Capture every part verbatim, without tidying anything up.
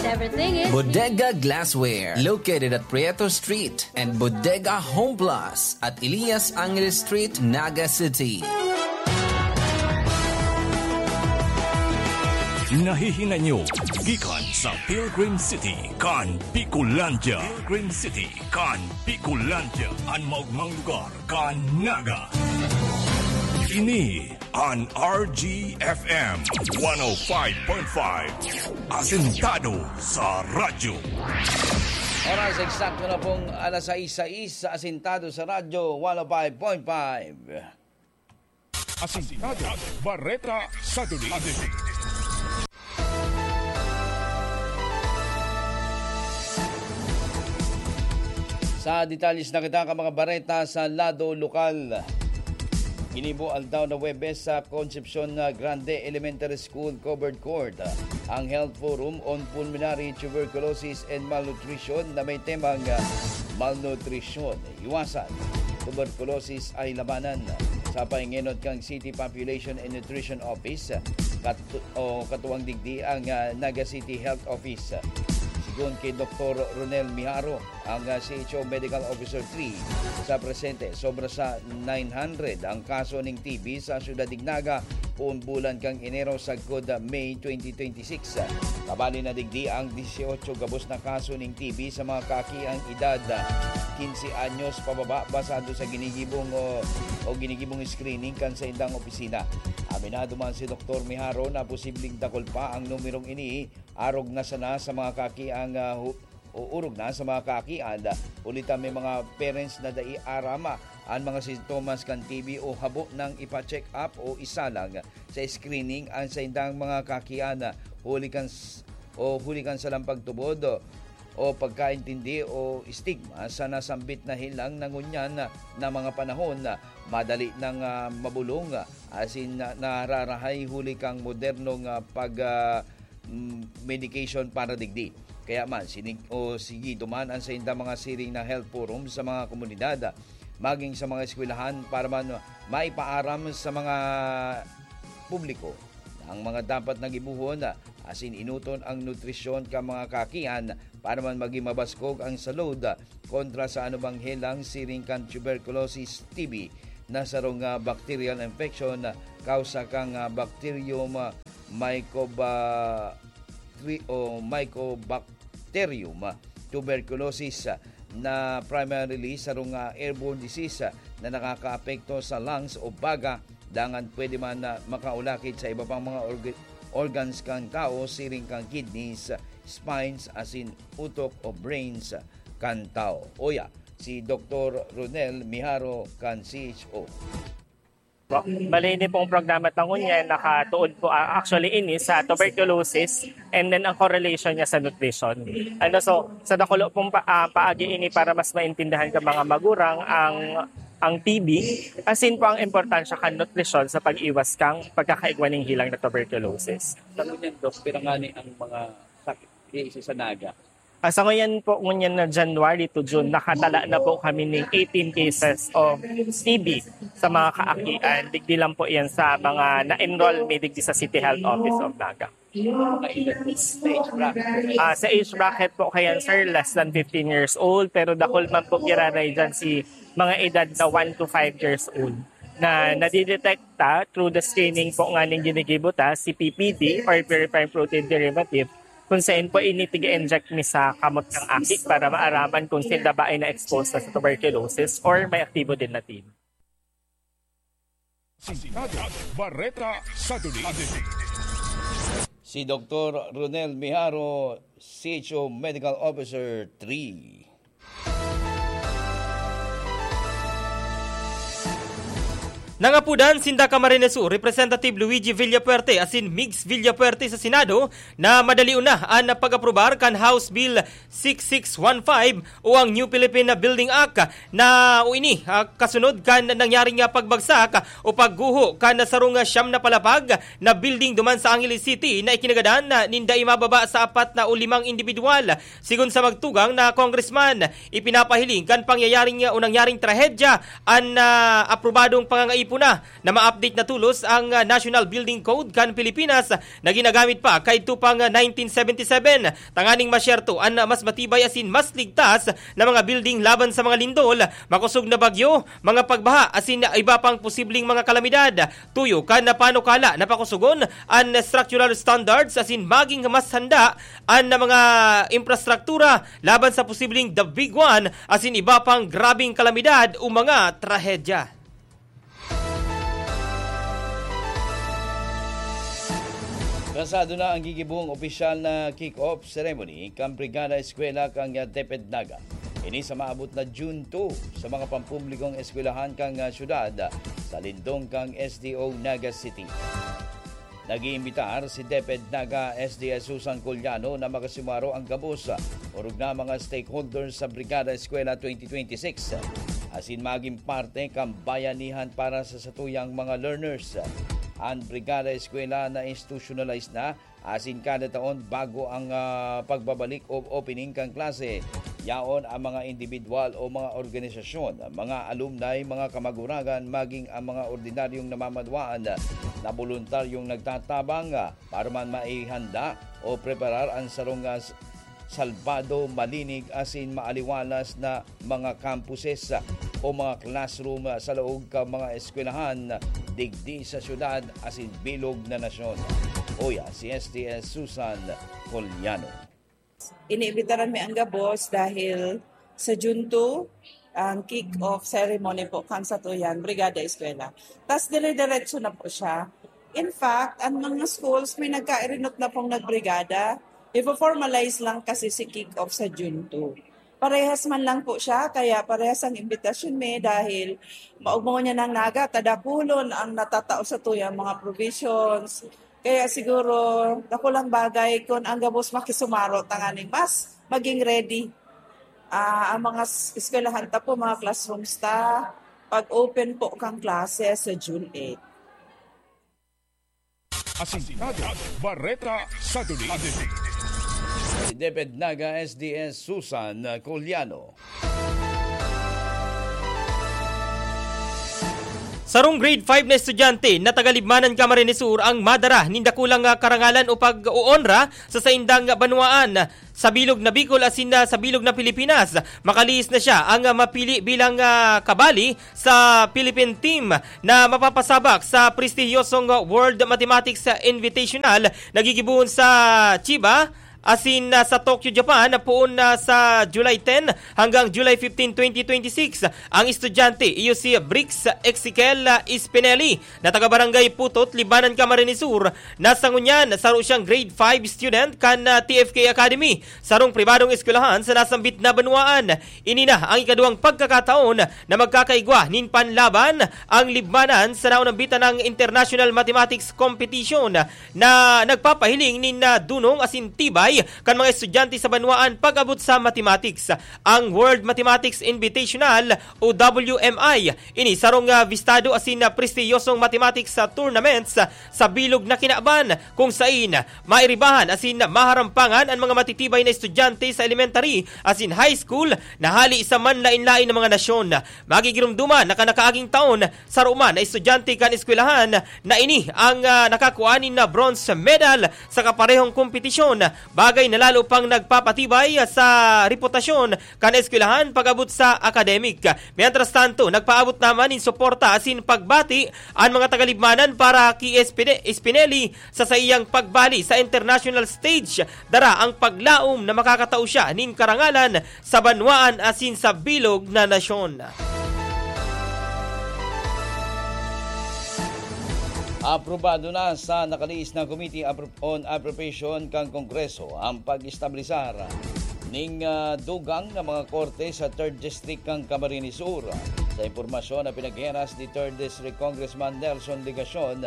Everything is Bodega Glassware, located at Prieto Street, and Bodega Home Plus at Elias Angeles Street, Naga City. Nahihinay nyo gikan sa Pilgrim City kan Bicolandia. Pilgrim City kan Bicolandia, an maogmang lugar kan Naga. Ini an R G F M one oh five point five, asentado sa radyo. Oras eksakto na pong alas sais sais, asentado sa radyo, one oh five point five. Asentado, bareta sa duli. Sa detalles na kita kan mga bareta sa lado lokal. Ginibo aldaw na Huwebes sa Concepcion Grande Elementary School Covered Court ang Health Forum on Pulmonary Tuberculosis and Malnutrition na may temang, ah, Malnutrisyon, Iwasan Tuberculosis ay Labanan, sa pahingenot kan City Population and Nutrition Office, kat-, o katuwang digdi ang, ah, Naga City Health Office. Sigon ki Doktor Ronel Miharo, ang, ah, C H O Medical Officer three, sa presente, sobra sa nine hundred ang kaso ning T B sa siyudad nin Naga poon bulan kan Enero sagkod, ah, May twenty twenty-six. Kabali na digdi ang dieciocho gabos na kaso nin T B sa mga kaaki ang edad, ah, quince anyos pababa, basado sa ginigibong o, o ginigibong screening kan saindang opisina. Aminado man si Doktor Miharo na posibleng dakul pa ang numerong ini, arog na sana sa mga kaaki ang, ah, hu-, o orog na sa mga kaakian, huli ta may mga parents na dai aram an mga sintomas kan T B o habo nang ipa-check up o isalang sa screening an saindang mga kaakian, huli kan s-, o huli kan salang pagtubod o pagkaintindi o stigma sa nasambit na helang na ngunyan na mga panahon, madali nang, ah, mabulong, asin na, nararahay huli kan modernong, ah, pag, ah, mm, medication para digdi. Kaya man, sinig-, o sige duman an saindang mga siring na health forum sa mga komunidad, maging sa mga eskwelahan para man maipaaram sa mga publiko na ang mga dapat na gibohon, asin enoton ang nutrisyon kan mga kaakian para man magin mabaskog ang salud kontra sa anumang helang siring kan tuberculosis, T B, na sarong, ah, bacterial infection, kausa kan, ah, bacterium, ah, mycoba-, tri-, o Mycobacterium, ah, tuberculosis, ah, na primarily sarong, ah, airborne disease, ah, na nakakaapekto sa lungs o baga, dangan pwede man na makaulakit sa iba pang mga org-, organs kan tawo, siring kan kidneys, spines, asin utok o brains kan tawo. Uya, si Doktor Ronel Miharo kan C H O. Bale, ini pong programa ta ngunyan, nakatuon po, ah, actually, ini sa tuberculosis and then ang correlation niya sa nutrition. Ano, so, sa dakulo pong pa-, ah, paagi ini para mas maintindihan ka mga magurang ang, ang T B, asin po ang importansya kan nutrisyon sa pag-iwas kang pagkakaigwa ning helang na tuberculosis. Sa ngunyan, Doc, pira ngani ang mga sakit di isa sa Naga? Ah, sa ngayon po, ngunyan na January to June, nakatala na po kami ning eighteen cases of T B sa mga kaakian. Digdi lang po yan sa mga na-enroll mi digdi sa City Health Office of Naga. Mga edad po, sa age bracket. Ah, sa age bracket po kayan, sir, less than fifteen years old, pero dakul man po giraray dyan si mga edad na one to five years old na nadidetekta through the screening po nga ning ginigibo ta, si P P D or purified protein derivative, kung saan po ini tig-inject mi sa kamot ng aki para maaraman kung sinda ba ay na-expose na sa tuberculosis or may aktibo din na T B. Sintado, Bareta sa Duli. Si Doktor Ronel Miharo, C H O Medical Officer three. Nangapudan sinda Camarines Sur Representative Luigi Villafuerte asin Migs Villafuerte sa Senado na madalion na an pag-aprobar kan House Bill six six one five o ang New Philippine Building Act na o ini, ah, kasunod kan nangyaring, ah, pagbagsak o pagguho kan sarong siyam na palapag na building duman sa Angeles City na ikinagadan na nin dai mababa sa apat na o limang indibidwal. Sigon sa magtugang na congressman, ipinapahiling kan pangyayaring, ah, o nangyaring trahedya an, ah, aprobadong pangangaipo Puna na ma-update na tolos ang, ah, National Building Code kan Pilipinas na ginagamit pa kaidto pang, ah, nineteen seventy-seven, tanganing masyerto an, ah, mas matibay asin mas ligtas na mga building laban sa mga lindol, makosog na bagyo, mga pagbaha asin iba pang posibleng mga kalamidad. Tuyo kan panukala na pakosogon an structural standards asin maging mas handa an mga infrastruktura laban sa posibleng the big one asin iba pang grabeng kalamidad o mga trahedya. Pasado na ang gigibong opisyal na kick-off ceremony kan Brigada Eskwela kan DepEd Naga. Ini sa maabot na June two sa mga pampublikong eskwelahan kan syudad sa lindong kan S D O Naga City. Nag-iimbitar si DepEd Naga S D S Susan Coliano na makasimaro ang gabos, orog na mga stakeholders sa Brigada Eskwela twenty twenty-six, asin maging parte kan bayanihan para sa satuyang mga learners. An Brigada Eskwela na-institutionalize na, asin kada taon bago ang, ah, pagbabalik o opening kan klase, yaon ang mga indibidwal o mga organisasyon, mga alumni, mga kamaguragan, maging ang mga ordinaryong namamadwaan na boluntaryong nagtatabang, ah, para man maihanda o preparar an sarong, ah, s-, salbado, malinig asin maaliwalas na mga campuses, ah, o mga classroom, ah, sa laog kan mga eskwelahan, ah, digdi sa syudad asin bilog na nasyon. Uya, si S T S Susan Coliano. Iniimbitaran mi an gabos dahil sa June two, ang kick-off ceremony po kan satuyang Brigada Eskwela. Tas dire-diretso na po siya. In fact, ang mga schools may nagkairinot na pong nagbrigada. Ifo-formalize lang kasi si kick-off sa June two. Parehas man lang po siya, kaya parehas ang imbitasyon mi dahil maugmaw niya ng Naga, tadakulon ang natatao satuyang mga provisions. Kaya siguro, dakulang bagay kun ang gabos makisumaro tanganing mas maging ready. Ah, ang mga s-, eskwelahan ta po, mga classrooms ta, pag-open po kang klase sa June eight. Asintado, Bareta sa Duli. Si DepEd Naga S D S Susan Coliano. Sarong grade five na estudyante na taga Libmanan, Camarines Sur ang madara nin dakulang, ah, karangalan o pag-oonra sa saindang banwaan sa bilog na Bicol asin, ah, sa bilog na Pilipinas. Makalihis na siya ang, ah, mapili bilang, ah, kabali sa Philippine team na mapapasabak sa prestihiyosong World Mathematics Invitational na gigibohon sa Chiba asin, ah, sa Tokyo, Japan, poon na sa July ten hanggang July fifteen, twenty twenty-six. Ang estudyante iyo si Brix Ezekiel, ah, Spinelli na taga Barangay Putot, Libmanan, Camarines Sur. Na sa ngunyan, saro siyang grade five student kan, ah, T F K Academy, sarong pribadong eskwelahan sa nasambit na banwaan. Ini na ang ikaduwang pagkakataon na magkakaigwa nin panlaban ang Libmanan sa naunambitan ng International Mathematics Competition na nagpapahiling nin, ah, dunong asin tibay kan mga estudyante sa banwaan pag-abot sa mathematics. Ang World Mathematics Invitational o W M I, ini sarong, ah, bistado asin, ah, prestiyosong mathematics, ah, tournaments, ah, sa bilog na kinaban, kung sain mairibahan asin maharampangan an mga matitibay na estudyante sa elementary asin high school na hali sa manlaen-laen na mga nasyon. Magigiromdoman na kan nakaaging taon, saro man na estudyante kan eskwelahan na ini ang, ah, nakakua nin na bronze medal sa kaparehong kompetisyon, bagay na lalo pang nagpapatibay sa reputasyon kan eskwelahan pag-abot sa academic. Mientras tanto, nagpaabot naman nin suporta asin pagbati an mga taga-Libmanan para ki Espine-, Espineli sa saiyang pagbali sa international stage. Dara ang paglaom na makakatao siya nin karangalan sa banwaan asin sa bilog na nasyon. Aprobado na sa nakalihis na Committee Apro-, on Appropriation kan Kongreso ang pag-establisar ning, ah, dugang na mga korte sa Third District kan Camarines Sur. Sa impormasyon na pinagheras ni Third District Congressman Nelson Legacion,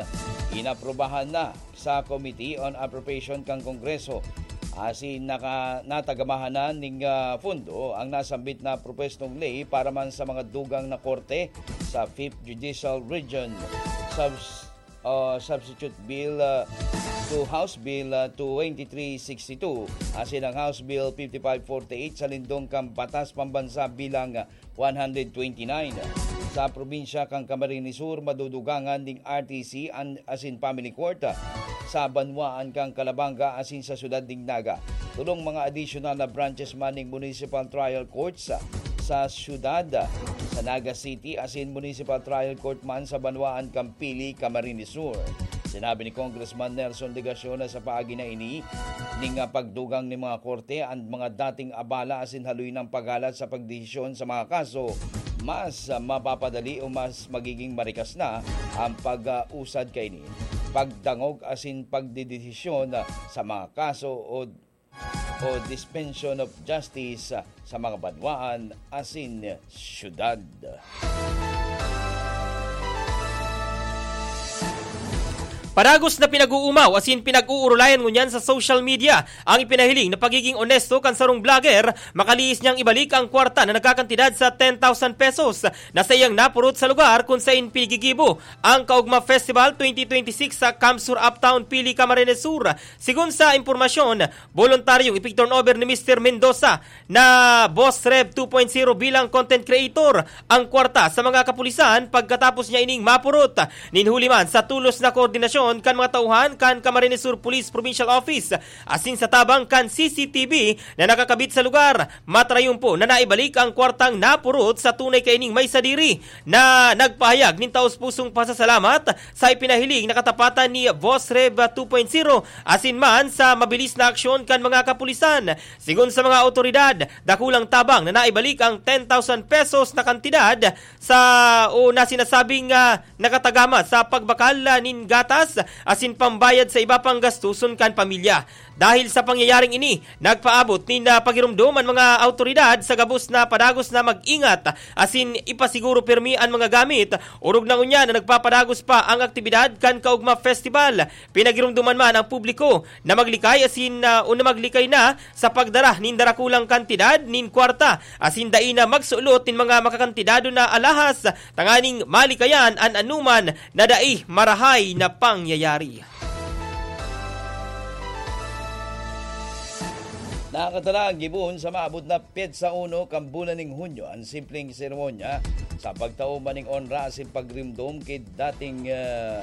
inaprubahan na sa Committee on Appropriation kan Kongreso asin naka-, natagamahanan ning, ah, pondo ang nasambit na propwestong ley para man sa mga dugang na korte sa Fifth Judicial Region. Subs-, ah, Substitute Bill, ah, to House Bill, ah, twenty-three sixty-two asin ang House Bill fifty-five forty-eight sa lindong kan Batas Pambansa bilang, ah, one hundred twenty-nine. Sa probinsya kan Camarines Sur, madudugangan ning R T C an, asin family court, ah, sa banwaan kan Calabanga asin sa siyudad ning Naga. Tolong mga additional na branches man ning municipal trial courts, ah, sa siyudad, ah, sa Naga City asin municipal trial court man sa banwaan kan Pili, Camarines Sur. Sinabi ni Congressman Nelson Legacion na sa paagi na ini ning, ah, pagdugang nin mga korte, ang mga dating abala asin haloy nang paghalat sa pagdesisyon sa mga kaso, mas, ah, mapapadali o mas magiging marikas na ang pag-usad kaini, pagdangog asin pagdedesisyon, ah, sa mga kaso o, o dispensyon of justice, ah, sa mga banwaan asin syudad. Padagos na pinag-uumaw asin pinag-uurulayan ngunyan sa social media ang ipinahiling na pagiging onesto kan sarong vlogger, makalihis niyang ibalik ang kwarta na nagkakantidad sa ten thousand pesos na saiyang napurot sa lugar kun saen pinigigibo ang Kaugma Festival twenty twenty-six sa Camp Sur Uptown, Pili, Camarines Sur. Sigon sa impormasyon, boluntaryong ipig-turnover ni Mister Mendoza na Boss Rev two point zero bilang content creator ang kwarta sa mga kapulisan pagkatapos niya ining mapurot. Nin huli man sa tolos na koordinasyon kan mga tauhan kan Camarines Sur Police Provincial Office asin sa tabang kan C C T V na nakakabit sa lugar, matarayumpo na naibalik ang kwartang napurot sa tunay kaining may sadiri na nagpahayag nin taos-pusong pasasalamat sa ipinahiling na katapatan ni Boss Rev two point zero asin man sa mabilis na aksyon kan mga kapulisan. Sigon sa mga awtoridad, dakulang tabang na naibalik ang ten thousand pesos na kantidad sa o na sinasabing, ah, nakatagama sa pagbakal, ah, nin gatas asin pambayad sa iba pang gastuson kan pamilya. Dahil sa pangyayaring ini, nagpaabot nin, ah, pagiromdom an mga awtoridad sa gabos na padagos na mag-ingat asin ipasiguro pirmi an mga gamit, orog na ngunyan na nagpapadagos pa ang aktibidad kan Kaugma Festival. Pinagiromdoman man ang publiko na maglikay asin, ah, o na maglikay na sa pagdara nin darakulang kantidad nin kwarta asin dai na magsulot nin mga makakantidado na alahas tanganing malikayan an anuman na dai marahay na pangyayari. Nakakatalang gibon sa maabot na petsa uno kan bulan ning Hunyo an simpleng seremonya sa pagtao man ning onra asin pagrimdom ki dating, ah,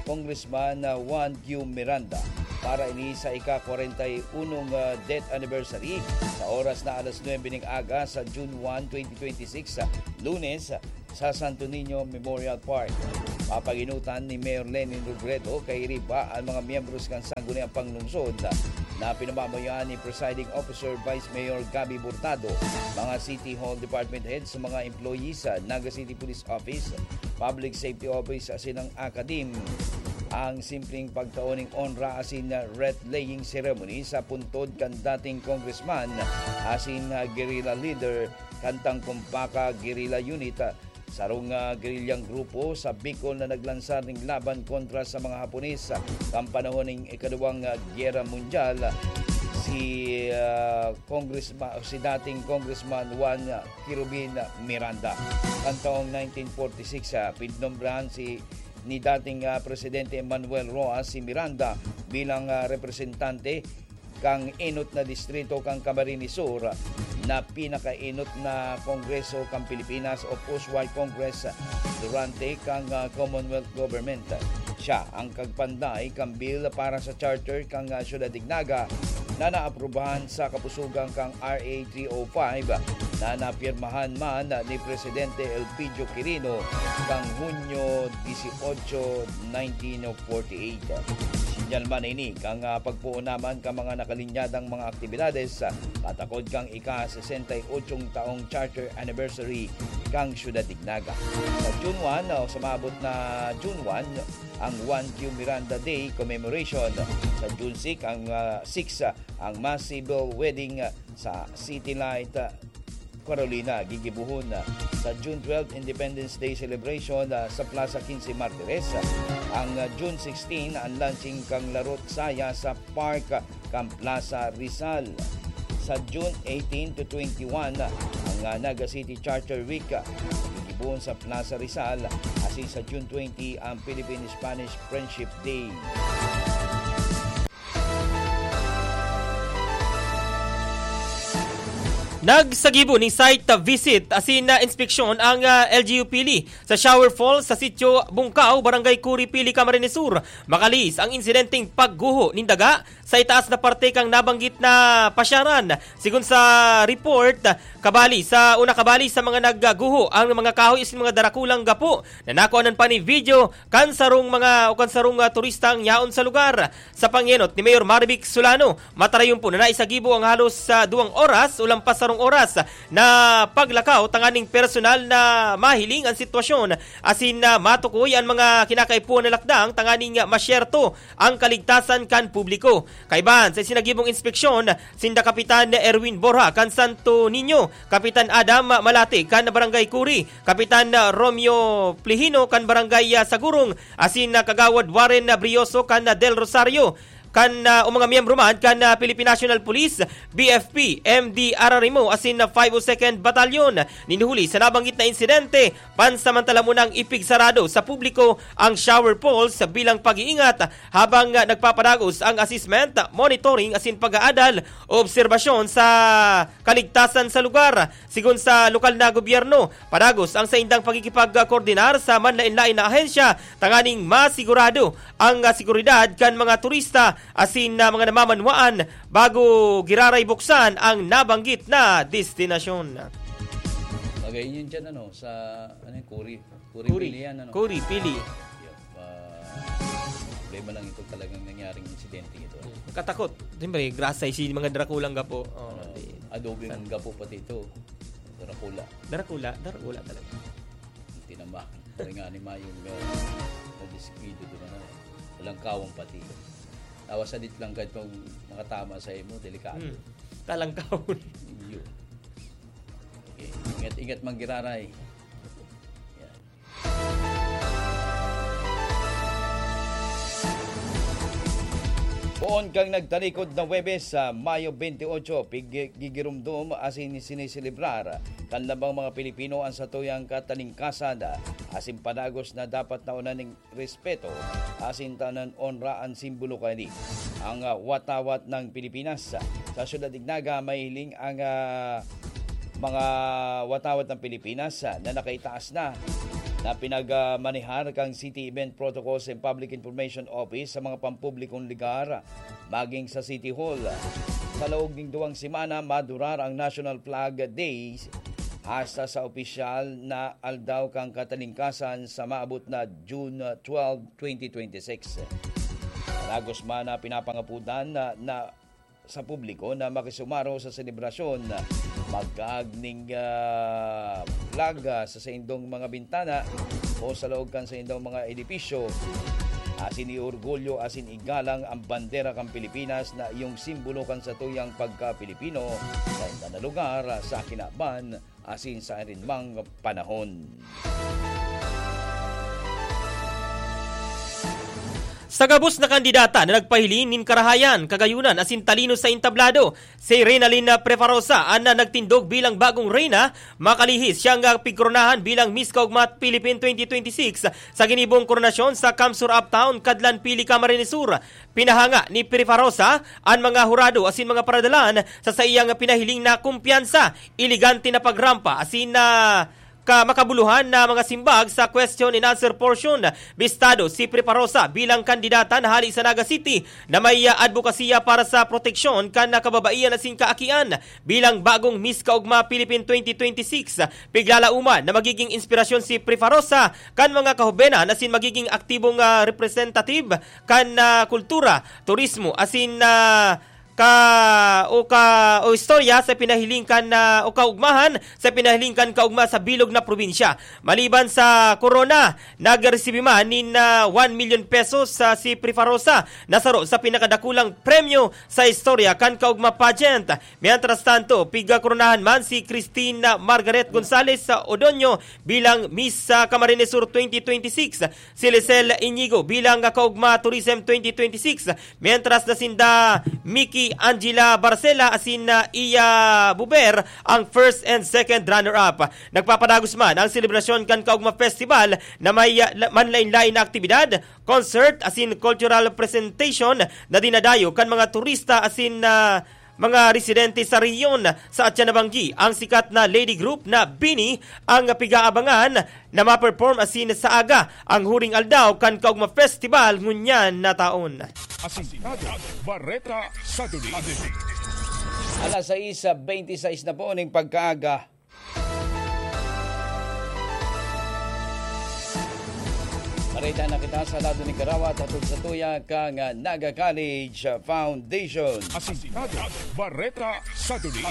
Congressman, ah, Juan Q Miranda para ini sa ika-kwarenta y unong, ah, death anniversary sa oras na alas nuebe ning aga sa June one, twenty twenty-six, sa Lunes, sa Santo Niño Memorial Park. Papaginutan ni Mayor Lenin Robredo kairiba an mga miyembros kan Sangguniang Panlungsod na pinamamayoan ni Presiding Officer Vice Mayor Gabby Hurtado, mga City Hall Department Heads, mga employees sa Naga City Police Office, Public Safety Office asin ang Akadim. Ang simpleng pagtao ning onra asin wreath-laying ceremony sa puntod kan dating congressman asin guerrilla leader kan Tangkumpaka Guerrilla Unit, sarong, ah, gerilyang grupo sa Bicol na naglansar ning laban kontra sa mga Hapones, ah, kan panahon ning Ikaduwang, ah, Gyera Mundyal, si, ah, Congressma-, si dating Congressman Juan, ah, Kirubin Miranda. Kan taong nineteen forty-six, ah, pinnombrahan si, ni dating, ah, Presidente Manuel Roxas si Miranda bilang, ah, representante kan enot na distrito kan Camarines Sur na pinakaenot na kongreso kan Pilipinas o Post-War Congress durante kan, ah, Commonwealth Government. Siya ang kagpanday kan bill para sa charter kan, ah, Syudad nin Naga na naaprubahan sa kapusugan kan R A three oh five na napirmahan man ni Presidente Elpidio Quirino kan Hunyo dieciocho, nineteen forty-eight. Sinyal man ini kan, ah, pagpoon naman kan mga nakalinyadang mga aktibidades, ah, patakod kan ika-sesenta y ochong taong charter anniversary kan Syudad nin Naga. Sa June one, o sa maabot na June one, ang Juan Q Miranda Day Commemoration. Sa June six, ang, ah, six, ah, ang mass civil wedding, ah, sa City Light, ah, Carolina, gigibohon, ah, sa June twelve, Independence Day Celebration, ah, sa Plaza Quince Martires. Ang, ah, June sixteen, ang launching kan Larot Saya sa Park, ah, kan Plaza Rizal. Sa June eighteen to twenty-one, ah, ang, ah, Naga City Charter Week, ah, gigibohon sa Plaza Rizal. Asin sa June twenty, ang Philippine-Spanish Friendship Day. Nagsagibo nin site visit asin, ah, inspeksyon ang, ah, L G U Pili sa shower falls sa Sitio Bungkaw, Barangay Curi, Pili, Camarines Sur. Makalihis ang insidenteng pagguho nin daga sa itaas na parte kan nabanggit na pasyaran. Sigon sa report, kabali sa una, kabali sa mga nagguho ang mga kahoy asin mga darakulang gapo na nakuhanan pa nin video kan sarong mga o kan sarong, ah, turistang yaon sa lugar. Sa pangenot ni Mayor Marivic Solano, matarayon po na naisagibo ang halos sa duwang oras o lampas sarong oras na paglakaw tanganing personal na mahiling ang sitwasyon asin na matukoy ang mga kinakaipuhan na lakdang tanganing masyerto ang kaligtasan kan publiko. Kaiban sa isinagibong inspeksyon, sinda Kapitan Erwin Borja kan Santo Niño, Kapitan Adam Malate kan Barangay Curi, Kapitan Romeo Plihino kan Barangay, ah, Sagurong, asin, ah, Kagawad Warren, ah, Brioso kan, ah, Del Rosario, kan, ah, o mga miyembro man kan, ah, Philippine National Police, B F P, M D R R M O, asin, ah, five oh second Battalion. Nin huli sa nabanggit na insidente, pansamantala munang ipigsarado sa publiko ang shower falls bilang pag-iingat habang, ah, nagpapadagos ang assessment, monitoring asin pag-aadal o obserbasyon sa kaligtasan sa lugar. Sigon sa lokal na gobyerno, padagos ang saindang pakikipagkoordinar sa manlain-lain na ahensya tanganing masigurado ang, ah, seguridad kan mga turista asin, ah, mga namamanwaan bago giraray buksan ang nabanggit na destinasyon. Bagay yun dyan, ano, sa, ano yung Kuri? Kuri, Kuri. Pili yan, ano? Kuri, Pili. Yun. Ah, problema lang ito talagang nangyaring insidente ito. Katakot. Siyempre, grasay si mga drakulang gapo. Oh, di. Adobe mong gapo pati ito. Dracula. Dracula, Dracula talaga. Tinama. Kaya nga ni Mayong uh, na-disquido doon, ano, walang kawang pati. Tawa sa dit lang kahit kung makatama sa imo, delikado. Hmm. Talangkawon. Yun. Okay. Ingat-ingat manggiraray. Yan. Poon kang nagtalikod na Huwebes sa Mayo twenty-eight, pig-, gigirumdom asin siniselebrar kan lambang mga Pilipino an satuyang katalingkasan asin padagos na dapat na unan ning respeto asin tanan onra an simbolo kaini. Ang, ah, watawat ng Pilipinas. Sa Syudad Ignaga, mahiling ang, ah, mga watawat ng Pilipinas, ah, na nakaitaas na na pinagmanehar kang City Event Protocols and Public Information Office sa mga pampublikong lugar, maging sa City Hall. Sa laog ning duwang semana, madurar ang National Flag Day hasta sa opisyal na aldaw kan katalingkasan sa maabot na June twelve, twenty twenty-six. Padagos man na pinapangapudan na, na sa publiko na makisumaro sa selebrasyon, magkaag ning, ah, flag, ah, sa saindong mga bintana o sa laog kan saindong mga edipisyo. Asin iorgulyo asin igalang ang bandera kan Pilipinas na iyong simbolo kan satuyang pagka-Pilipino sa inda na lugar, sa kinaban asin sa arinmang panahon. Sa gabos na kandidata na nagpahiling nin karahayan, kagayunan asin talino sa entablado, si Renalyn Prefarosa an nagtindog bilang bagong reyna. Makalihis siyang, ah, pigkoronahan bilang Miss Kaugma Philippine twenty twenty-six sa ginibong koronasyon sa Kamsur Uptown, Kadlan, Pili, Camarines Sur. Pinahanga ni Prefarosa an mga hurado asin mga paradalan sa saiyang pinahiling na kumpiyansa, elegante na pagrampa asin na ka makabuluhan na mga simbag sa question and answer portion. Bistado si Prefarosa bilang kandidata na hali sa Naga City na may, ah, adbokasiya para sa proteksyon kan kababaihan asin kaakian. Bilang bagong Miss Kaugma Philippine twenty twenty-six, piglalauman na magiging inspirasyon si Prefarosa kan mga kahobenan asin magiging aktibong, ah, representative kan, ah, kultura, turismo asin, ah, ka o ka o istorya sa pinahiling kan, ah, o kaugmahan sa pinahiling kan kaugma sa bilog na probinsya. Maliban sa korona, nagresibi man nin, ah, one million pesos sa si Prefarosa na saro sa pinakadakulang premyo sa istorya kan kaugma pageant. Mientras tanto, pigkoronahan man si Christine Margaret Gonzalez sa Odonio bilang Miss sa Camarines Sur twenty twenty-six, si Lisel Inigo bilang kaugma Tourism twenty twenty-six, mientras na sinda Mickey Angela Barcela asin, ah, Iya Buber ang first and second runner-up. Nagpapadagos man ang selebrasyon kan Kaugma Festival na may, ah, la-, manlain-lain na aktibidad, concert asin cultural presentation na dinadayo kan mga turista asin, ah, mga residente sa rehiyon. Sa atyan na banggi, ang sikat na lady group na Bini ang pigaabangan na ma-perform asin sa aga ang huring aldaw kan Kaugma Festival ngunyan na taon. Asintado, Bareta sa Duli. Alas sais beintisais na po ning pagkaaga. Marita na kita sa lado ni Karawat, hatod sa tuya kang Naga College Foundation. Asintado, Bareta sa Duli.